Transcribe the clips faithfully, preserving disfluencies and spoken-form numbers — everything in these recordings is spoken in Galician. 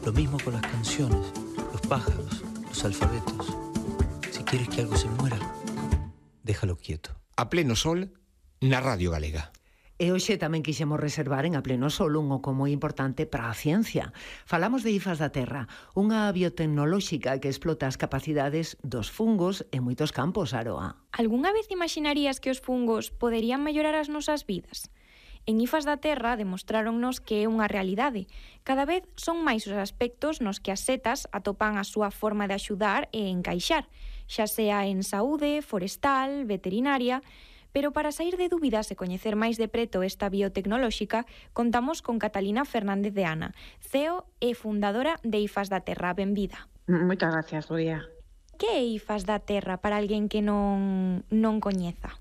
Lo mismo con las canciones, los pájaros, los alfabetos. Si quieres que algo se muera, déjalo quieto. A pleno sol, na Radio Galega. E hoxe tamén quixemos reservar en A Pleno Sol un oco moi importante para a ciencia. Falamos de IFAS da Terra, unha biotecnolóxica que explota as capacidades dos fungos en moitos campos, Aroa. Algúnha vez imaginarías que os fungos poderían mellorar as nosas vidas? En IFAS da Terra demostráronnos que é unha realidade. Cada vez son máis os aspectos nos que as setas atopan a súa forma de axudar e encaixar, xa sea en saúde, forestal, veterinaria. Pero para sair de dúbidas e coñecer máis de preto esta biotecnolóxica, contamos con Catalina Fernández de Ana, C E O e fundadora de IFAS da Terra. Benvida. Moitas gracias, Rodia. Que é IFAS da Terra para alguén que non, non coñeza?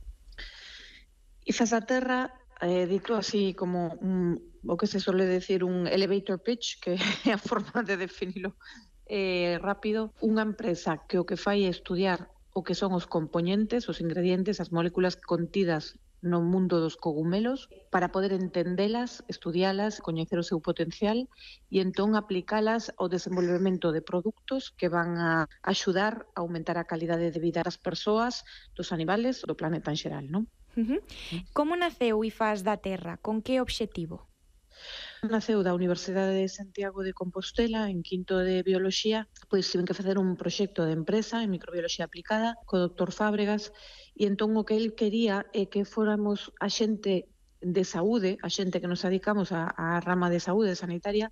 IFAS da Terra, eh, dito así como un, o que se suele decir un elevator pitch, que é a forma de definilo eh, rápido, unha empresa que o que fai é estudiar o que son os componentes, os ingredientes, as moléculas contidas no mundo dos cogumelos para poder entendelas, estudialas, coñecer o seu potencial e entón aplicalas ao desenvolvemento de produtos que van a axudar a aumentar a calidade de vida das persoas, dos animales, do planeta en xeral, non? Uh-huh. Como naceu IFAS da Terra? Con que obxectivo? Naceu da Universidade de Santiago de Compostela en quinto de Bioloxía, pois tiven que facer un proxecto de empresa en microbioloxía aplicada co doctor Fábregas e entón o que el quería é que fóramos a xente de saúde, a xente que nos dedicamos á, á rama de saúde sanitaria,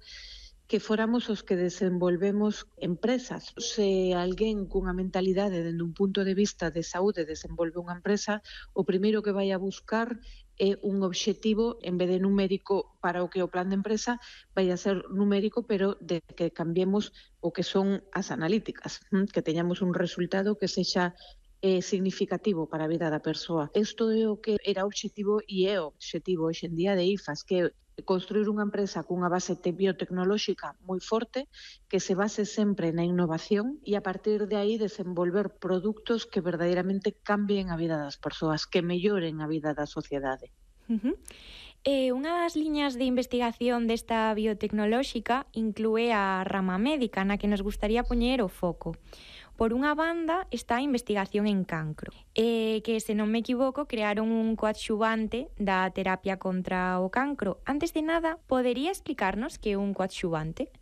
que fóramos os que desenvolvemos empresas. Se alguén cunha mentalidade dende un punto de vista de saúde desenvolve unha empresa, o primeiro que vai a buscar é un obxectivo, en vez de numérico para o que é o plan de empresa, vai a ser numérico, pero de que cambiemos o que son as analíticas, que teñamos un resultado que sexa eh, significativo para a vida da persoa. Isto é o que era o obxectivo e é o obxectivo hoxe en día de IFAS, que é construir unha empresa cunha base biotecnolóxica moi forte, que se base sempre na innovación e a partir de aí desenvolver produtos que verdadeiramente cambien a vida das persoas, que melloren a vida da sociedade. Uh-huh. Eh, unha das liñas de investigación desta biotecnolóxica inclúe a rama médica, na que nos gustaría poñer o foco. Por unha banda está a investigación en cancro, eh, que, se non me equivoco, crearon un coadxuvante da terapia contra o cancro. Antes de nada, podería explicarnos que é un coadxuvante?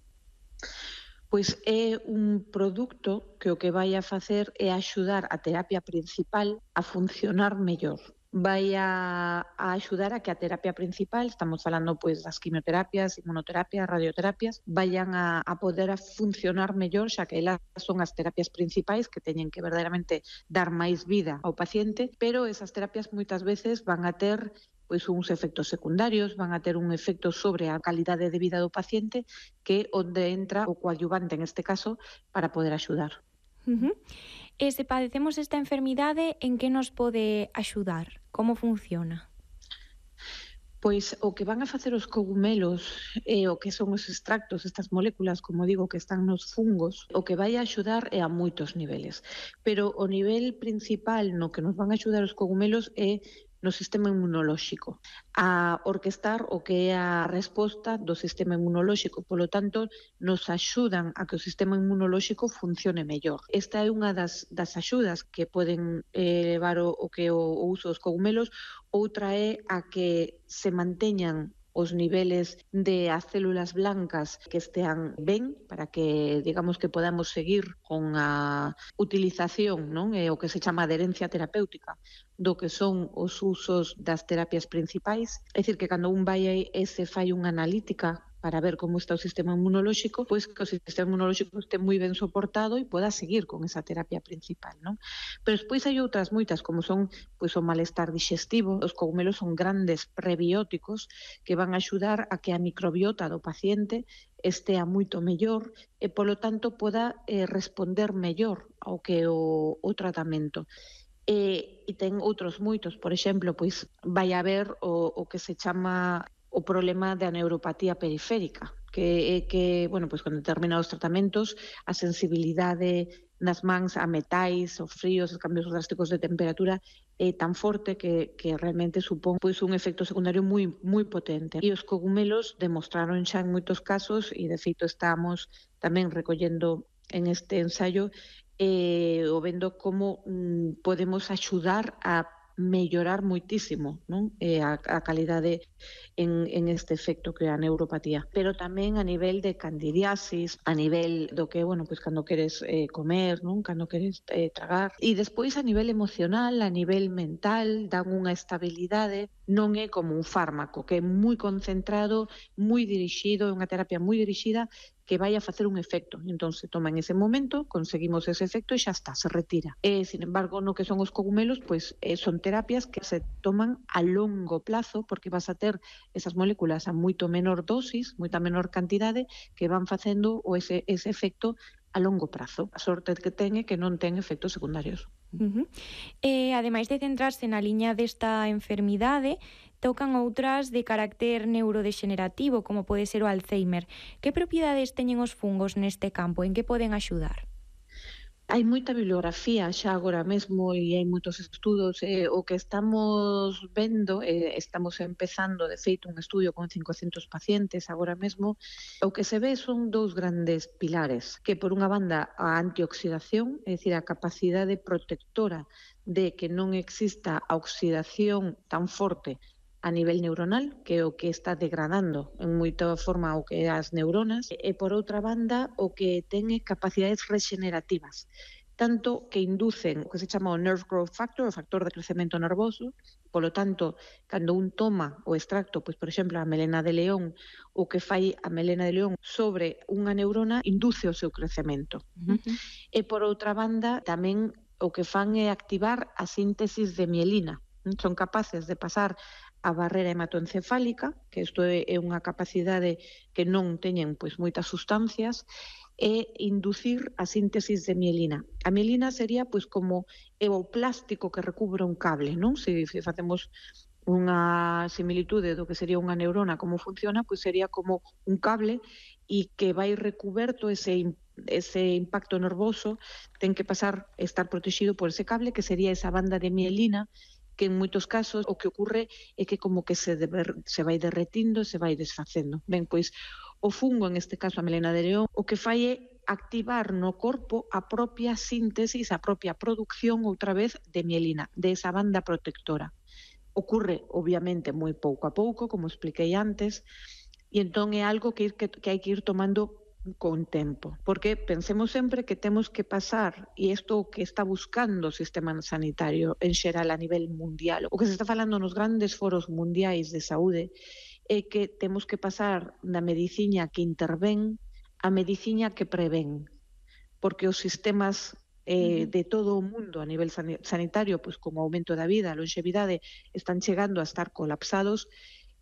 Pois é un produto que o que vai a facer é axudar a terapia principal a funcionar mellor. Vai a, a axudar a que a terapia principal, estamos falando pois das quimioterapias, inmunoterapias, radioterapias, vayan a, a poder a funcionar mellor, xa que elas son as terapias principais que teñen que verdadeiramente dar máis vida ao paciente, pero esas terapias moitas veces van a ter pois uns efectos secundarios, van a ter un efecto sobre a calidade de vida do paciente, que é onde entra o coadyuvante, en este caso, para poder axudar. Uh-huh. E se padecemos esta enfermidade, en que nos pode axudar? Como funciona? Pois o que van a facer os cogumelos e o que son os extractos, estas moléculas, como digo, que están nos fungos, o que vai a axudar é a moitos niveles. Pero o nivel principal no que nos van a axudar os cogumelos é no sistema inmunolóxico, a orquestar o que é a resposta do sistema inmunolóxico. Polo tanto, nos axudan a que o sistema inmunolóxico funcione mellor. Esta é unha das, das axudas que poden eh, levar o, o que o, o uso dos cogumelos. Outra é a que se manteñan os niveles de as células blancas que estean ben, para que, digamos, que podamos seguir con a utilización, non? E o que se chama adherencia terapéutica do que son os usos das terapias principais. É dicir, que cando un vai e se fai unha analítica para ver como está o sistema inmunolóxico, pois que o sistema inmunolóxico este moi ben soportado e poda seguir con esa terapia principal, non? Pero despois hai outras moitas, como son pois o malestar digestivo. Os cogumelos son grandes prebióticos que van a axudar a que a microbiota do paciente estea moito mellor e, polo tanto, poda eh, responder mellor ao que o, o tratamento. E, e ten outros moitos, por exemplo, pois vai haber o, o que se chama o problema da neuropatía periférica, que é que, bueno, pois con determinados tratamentos a sensibilidade nas mans a metais, os fríos, os cambios drásticos de temperatura é tan forte que, que realmente supón pois, un efecto secundario moi, moi potente. E os cogumelos demostraron xa en moitos casos, e de feito estamos tamén recollendo en este ensayo, eh, o vendo como mm, podemos axudar a mellorar moitísimo, non? Eh, a, a calidade en, en este efecto que é a neuropatía. Pero tamén a nivel de candidiasis, a nivel do que, bueno, pois cando queres eh, comer, non? Cando queres eh, tragar. E despois a nivel emocional, a nivel mental, dan unha estabilidade, non é como un fármaco, que é moi concentrado, moi dirixido, é unha terapia moi dirixida, que vai a facer un efecto. Entón, se toma en ese momento, conseguimos ese efecto e xa está, se retira. E, sin embargo, no que son os cogumelos, pois eh, son terapias que se toman a longo plazo, porque vas a ter esas moléculas a moito menor dosis, moita menor cantidade, que van facendo o ese, ese efecto a longo prazo. A sorte que ten é que non ten efectos secundarios. Uh-huh. Eh, ademais de centrarse na liña desta enfermidade, tocan outras de carácter neurodexenerativo, como pode ser o Alzheimer. Que propiedades teñen os fungos neste campo? En que poden axudar? Hai moita bibliografía xa agora mesmo e hai moitos estudos. Eh, o que estamos vendo, eh, estamos empezando, de feito, un estudio con cincocentos pacientes agora mesmo. O que se ve son dous grandes pilares, que por unha banda a antioxidación, é dicir, a capacidade protectora de que non exista a oxidación tan forte a nivel neuronal, que é o que está degradando en moita forma o que é as neuronas, e por outra banda o que ten capacidades rexenerativas, tanto que inducen o que se chama o nerve growth factor, o factor de crecemento nervoso. Polo tanto, cando un toma o extracto, pois por exemplo, a melena de león, o que fai a melena de león sobre unha neurona induce o seu crecemento. Uh-huh. E por outra banda, tamén o que fan é activar a síntesis de mielina. Son capaces de pasar a barrera hematoencefálica, que isto é unha capacidade que non teñen pois moitas sustancias, e inducir a síntesis de mielina. A mielina sería pois como o plástico que recubre un cable, non? Se, se facemos unha similitude do que sería unha neurona, como funciona, pois sería como un cable e que vai recuberto ese ese impacto nervoso, ten que pasar, estar protegido por ese cable, que sería esa banda de mielina, que en moitos casos o que ocorre é que como que se, deber, se vai derretindo, se vai desfacendo. Ben, pois, o fungo, en este caso a melena de león, o que fai é activar no corpo a propia síntesis, a propia producción, outra vez, de mielina, de esa banda protectora. Ocorre, obviamente, moi pouco a pouco, como expliquei antes, e entón é algo que, que, que hai que ir tomando con tempo, porque pensemos sempre que temos que pasar, e isto que está buscando o sistema sanitario en xeral a nivel mundial, o que se está falando nos grandes foros mundiais de saúde, é que temos que pasar da medicina que intervén a medicina que prevén, porque os sistemas eh, de todo o mundo a nivel sanitario, pois como o aumento da vida, a longevidade, están chegando a estar colapsados,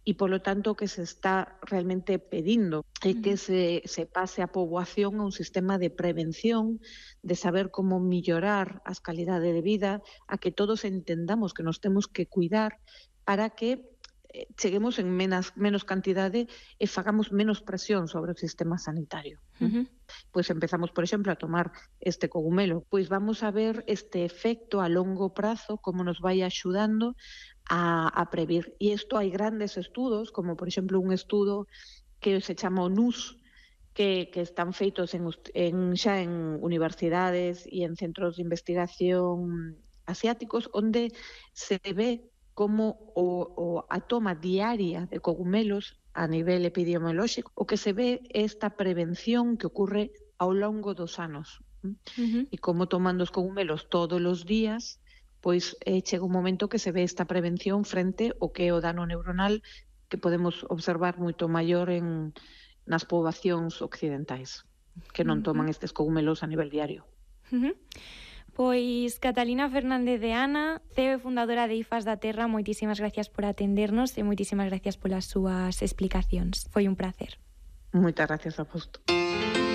e, polo tanto, o que se está realmente pedindo é que se, se pase a poboación a un sistema de prevención, de saber como mellorar as calidades de vida, a que todos entendamos que nos temos que cuidar para que cheguemos en menos, menos cantidade e fagamos menos presión sobre o sistema sanitario. Uh-huh. Pois empezamos, por exemplo, a tomar este cogumelo. Pois vamos a ver este efecto a longo prazo, como nos vai axudando a, a previr. E isto hai grandes estudos, como por exemplo un estudo que se chama o N U S, que, que están feitos en, en, xa en universidades e en centros de investigación asiáticos, onde se ve como o, o, a toma diaria de cogumelos a nivel epidemiolóxico, o que se ve é esta prevención que ocorre ao longo dos anos. Uh-huh. E como tomando os cogumelos todos os días, pois eh, chega un momento que se ve esta prevención frente ao que é o dano neuronal que podemos observar moito maior en, nas poboacións occidentais, que non toman estes cogumelos a nivel diario. Uh-huh. Pois Catalina Fernández de Ana, C E O e fundadora de IFAS da Terra, moitísimas gracias por atendernos e moitísimas gracias polas súas explicacións. Foi un placer. Moitas gracias a vos.